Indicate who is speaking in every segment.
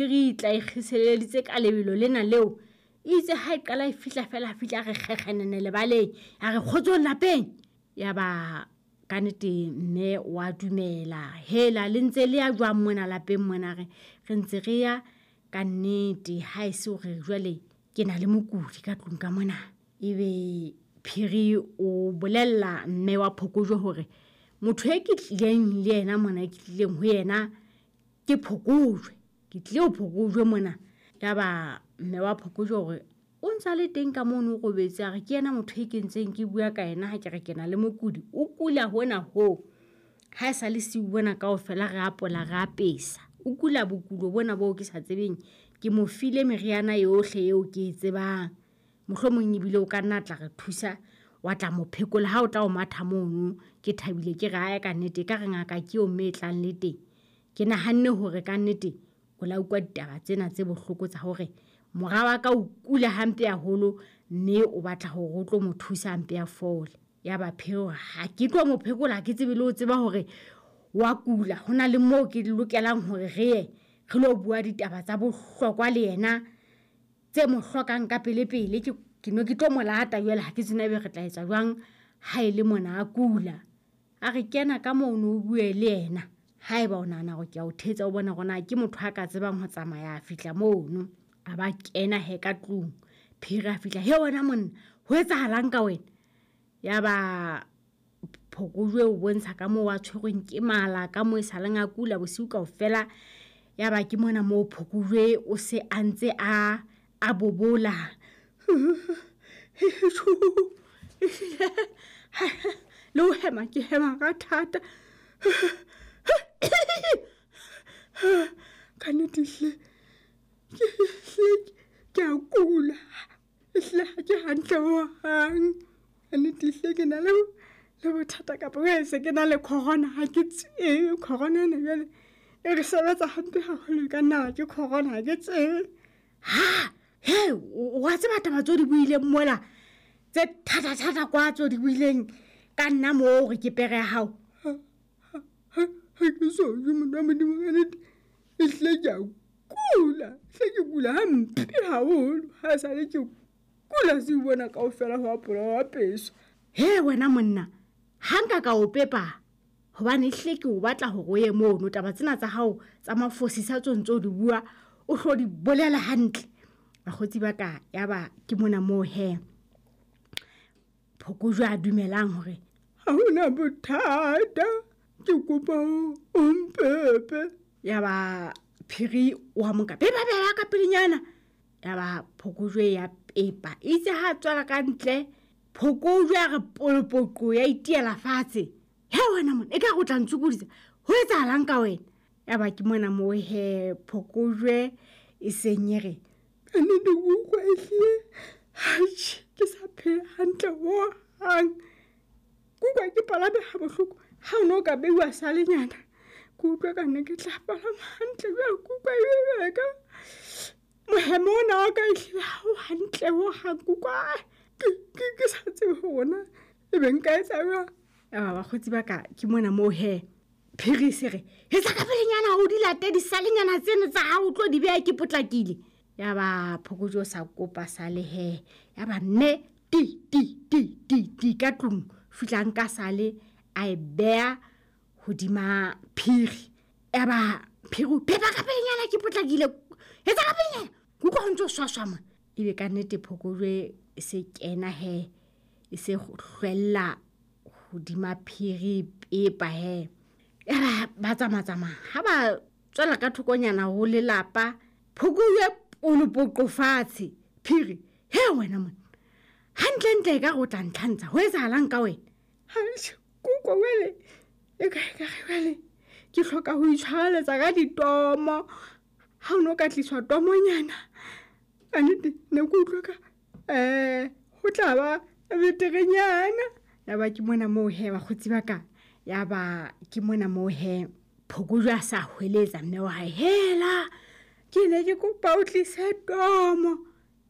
Speaker 1: Re tla ikgiseleditse ka lebelo lena leo. Itse ha e qala e fihla fela fihla re kgekgenene lebaleng. A re kgotsong lapeng. Ya ba ka nnete mme wa dumela. Hela le ntse le ya jwang mona lapeng mona re re ntse re ya ka nnete ha e se hore jwale ke na le mokudi ka tlung ka mona. Ebe Phiri o bolella mme wa Phokojwe hore motho e ke tlileng le yena mona ke tlileng ho yena ke Phokojwe. Ke tlile ho Phokojwe mona. Yaba mme wa Phokojwe hore o ntsa le teng ka mono o robetse a re ke yena motho e ke ntseng ke bua ka yena ha ke re ke na le mokudi. O kula hona hoo. Ha e sa le siu bona kaofela re apola re apesa. O kula bokulo bona boo ke sa tsebeng. Ke mo file meriana yohle eo ke e tsebang. Mohlomong ebile o ka nna tla re thusa wa tla mo phekola ha o tla o matha mono. Ke thabile ke re ae ka nnete ka re ngaka ke eo mme e tlang le teng. Ke nahanne hore ka nnete o la utlwa ditaba tsena tse bohloko tsa hore mora wa ka o kula hampe haholo mme o batla hore o tlo mo thusa hampe a fole. Ya ba Phiri ha ke tlo mo phekola ha ke tsebe le ho tseba hore wa kula. Ho na le moo ke lokelang hore re ye re lo bua ditaba tsa bohlokwa le yena tse mo hlokang ka pele pele. Ke no ke tlo mo lata jwale ha ke tsebe ebe re tla etsa jwang ha e le mona a kula. A re kena ka mono o bue le yena. Haeba o nahana hore ke a o thetsa o bona hore na ke motho a ka tsebang ho tsamaya a fihla mono. A ba kena he ka tlung. Phiri a fihla, he wena monna, ho etsahalang ka wena? Ya ba Phokojwe o bontsha ka moo a tshwerweng ke mala, ka moo e saleng a kula bosiu kaofela. Ya ba ke mona moo Phokojwe o se a ntse a bobola. Le ho hema ke hema ka thata.
Speaker 2: Ka nnete hle ke a kula. Ehlile ha ke hantle hohang. Ka nnete hlile ke na le bothata kapa e se ke na le corona ha ke tsebe. Corona ena jwale e re sebetsa hampe haholo, e ka nna ke corona ha ke tsebe.
Speaker 1: Ha he wa tseba taba tseo di buileng mola tse thata thata kwa tseo di buileng ka nna moo hore ke pere ya hao.
Speaker 2: Ha ke so je monna Modimo ka nnete. Ehlile ke a kula, hle ke kula hampe haholo. Ha sale ke kula se bona kaofela ho apola ho apeswa.
Speaker 1: He wena monna, ha nka ka o pepa hobane ehlile ke o batla hore o ye mono. Taba tsena tsa hao tsa mafosisa tseo ntso di bua o hlo di bolela hantle. Bakgotsi ba ka ya ba ke mona moo he Phokojwe a dumelang hore
Speaker 2: ha hona bothata, ke kopa o mpepe.
Speaker 1: Ya ba Phiri wa mo nka pepa pepa ka pelenyana. Ya ba Phokojwe ya pepa. Itse ha tswela ka ntle Phokojwe a re polopoqo ya itiela fatshe. He wena monna, e ka re o tla ntshokodisa. Ho etsahalang ka wena? Ya ba ke mona moo he Phokojwe e seng e re
Speaker 2: ka nnete ke utlwa ehlile atjhe ke sa phela hantle hohang. Ke utlwa ke palame ha bohloko. Ha o no ka beiwa salenyana, ke utlwa ka nne ke tla palama hantle jwale. Ke utlwa e ka mohemo ona wa ka ehlile ha o hantle hohang. Ke utlwa ke sa tsebe hore na ebe nka etsa jwang.
Speaker 1: Ya ba bakgotsi ba ka ke mona moo he Phiri se re etsa ka pelenyana o di late disalenyana tseno tsa hao o tlo di beha ke potlakile. Ya ba Phokojwe o sa kopa sale he. Ya ba mme ti ti ti ti ti ka tlung fihla nka sale a e beha hodima Phiri. Ya ba Phiri pepa ka pelenyana ke potlakile. Etsa ka pelenyana. Ke utlwa ho ntso swaswa mona. Ebe ka nnete Phokojwe e se kena he e se hlwella hodima Phiri pepa he. Ya ba ba tsamatsamaya ha ba tswela ka thokonyana ho lelapa Phokojwe polopoqo fatshe. Phiri he wena monna, hantlentle e ka re o tla ntlhantsha. Ho etsahalang ka wena?
Speaker 2: Atjhe, ke utlwa jwale e ka e ka re jwale ke hloka ho itshwareletsa ka ditomo. Ha o no ka tliswa tomonyana ka nnete ne ke utlwa ka ho tla ba beterenyana.
Speaker 1: Ya ba ke mona moo he bakgotsi ba ka. Ya ba ke mona moo he Phokojwe a sa hweletsa mme wa hae, hela
Speaker 2: ke ne ke kopa o tlise tomo.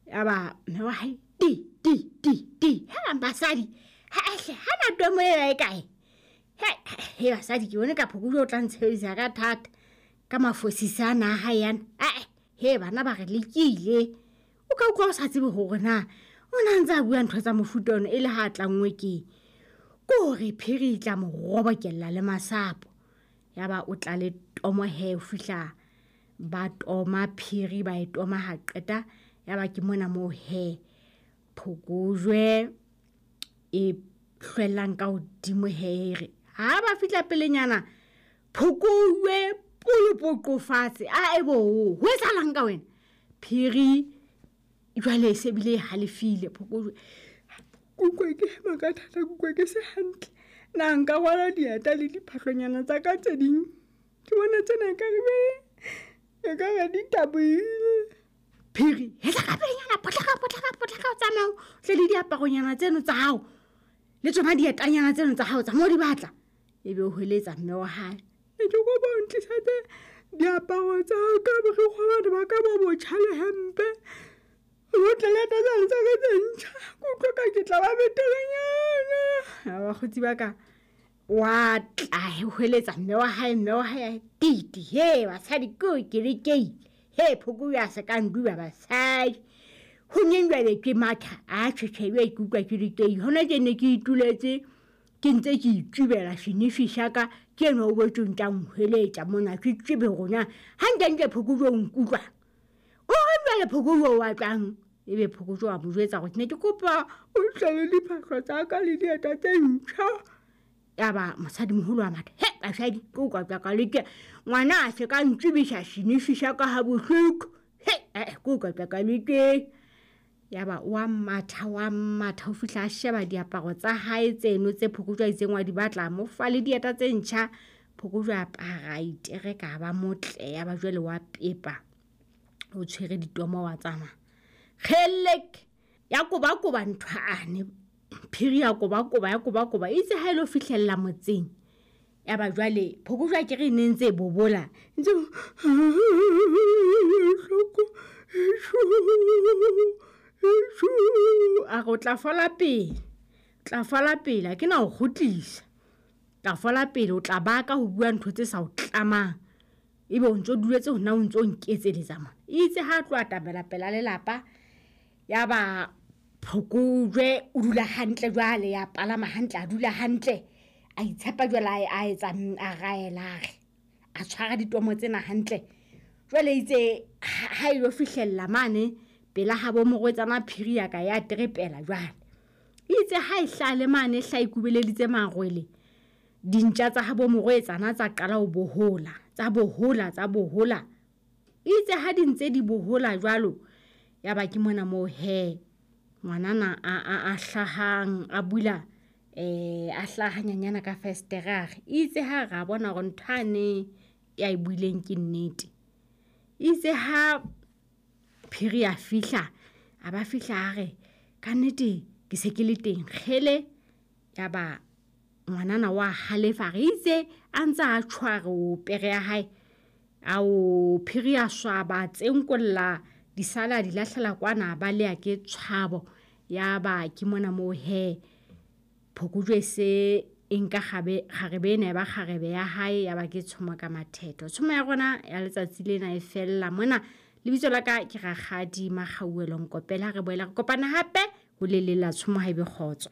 Speaker 1: Ya ba mme wa hae ti ti ti ti. Hela basadi, ha ehle ha na tomo e kae? He he basadi ke bone ka Phokojwe o tla ntshebedisa ka thata ka mafosisa ana a hae ana. Ae. He bana ba re lekile. O ka utlwa o sa tsebe hore na o na ntse a bua ntho tsa mofuta ono e le ha a tlanngwe keng. Ke hore phiri e tla mo robokella le masapo. Ya ba o tla le tomo he o fihla ba toma phiri ba e toma ha qeta. Ya ba ke mona moo he phokojwe e hlwellang ka hodimo he re ha ba fihla pelenyana phokojwe polopoqo fatshe. A e bo ho etsahalang ka wena? Phiri jwale e se bile e halefile phokojwe.
Speaker 2: Ke utlwa ke hema ka thata, ke utlwa ke se hantle. Na nka rwala dieta le diphahlonyana tsa ka tse ding? Ke bona tsena ekare be ekare di tabohile.
Speaker 1: Phiri, hetla ka pelenyana, potlaka, potlaka, potlaka, o tsamaya o tle le diaparonyana tseno tsa hao le tsona dietanyana tseno tsa hao tsa mo di batla. Ebe o hweletsa mme wa hae.
Speaker 2: Ne ke kopa o ntlisetse diaparo tsa ka, borikgwe bana ba ka bo botjha le hempe. O tle le tsane tsa ka tse ntjha. Ke utlwa ka ke tla ba beterenyana.
Speaker 1: A bakgotsi ba ka wa tla hweletsa mme wa hae, mme wa hae titi he basadi ko ke le keile. He phoko ya se ka nduba basadi. Ho nyeng jwale ke matha a tjhetjhe jwale ke utlwa ke le keile. Hona tje ne ke ituletse ke ntse ke itsubela senifi sa ka ke enwa o boetse o ntsa nhweletsa mona ke tsebe hore na hantlentle phokojwe o nkutlwa. O re jwale phokojwe o batlang? Ebe phokojwe wa mo jwetsa hore ke ne ke kopa
Speaker 2: o tle le diphahlo tsa ka le dieta tse ntjha.
Speaker 1: Ya ba mosadimoholo wa matha, he basadi ke o ka ka le ke ngwana a se ka ntsubisa senifi sa ka ha bohloko. He ke o ka ka le ke. Ya ba wa matha wa matha ho fihla a sheba diaparo tsa hae tseno tse phokojwe a itseng wa di batla, mo fa le dieta tse ntjha. Phokojwe a apara a itereka ba motle. Ya ba jwale wa pepa o tshwere ditomo wa tsamaya. Kgelek ya kobakoba ntho ane phiri ya kobakoba ya kobakoba itse ha ile fihlella motseng. Ya ba jwale phokojwe a ke re ne ntse e bobola
Speaker 2: ntse hloko
Speaker 1: a re o tla fola pele, tla fola pele ha ke na ho kgutlisa. Tla fola pele o tla baka ho bua ntho tse sa o tlamang. Ebe o ntso duletse hona o ntso nketseletsa mona. Itse ha tloha tabela pela lelapa ya ba phokojwe o dula hantle jwale ya palama hantle a dula hantle a itshepa jwale a etsa a raela a re a tshwara ditomo tsena hantle. Jwale itse ha ilo fihlella mane pela ha bo morwetsana phiri ya ka ya trepela jwale. Itse ha e hlale mane hla ikubeleditse marwele dintja tsa ha bo morwetsana tsa qala ho bohola, tsa bohola, tsa bohola. Itse ha di ntse di bohola jwalo ya ba ke mona moo he ngwanana a hlahang a bula a hlaha nyanyana ka festere a re itse ha ra bona hore ntho ane ya e buileng ke nnete. Itse ha phiri a fihla a ba fihla a re ka nnete ke se ke le teng kgele. Ya ba ngwanana wa halefa re itse a ntse a tshware o pere ya hae ao phiri a swaba tsenkolla disala di lahlela kwana ba le ke tshwabo. Ya ba ke mona moo he phokojwe se e nka kgarebe ena ya ba kgarebe ya hae. Ya ba ke tshomo ka mathetho. Tshomo ya rona ya letsatsi lena e fella mona. Lebitso la ka ke Rakgadi Makgauwelo Nkopela. Re boela re kopana hape ho le leng la tshomo ha ebe kgotso.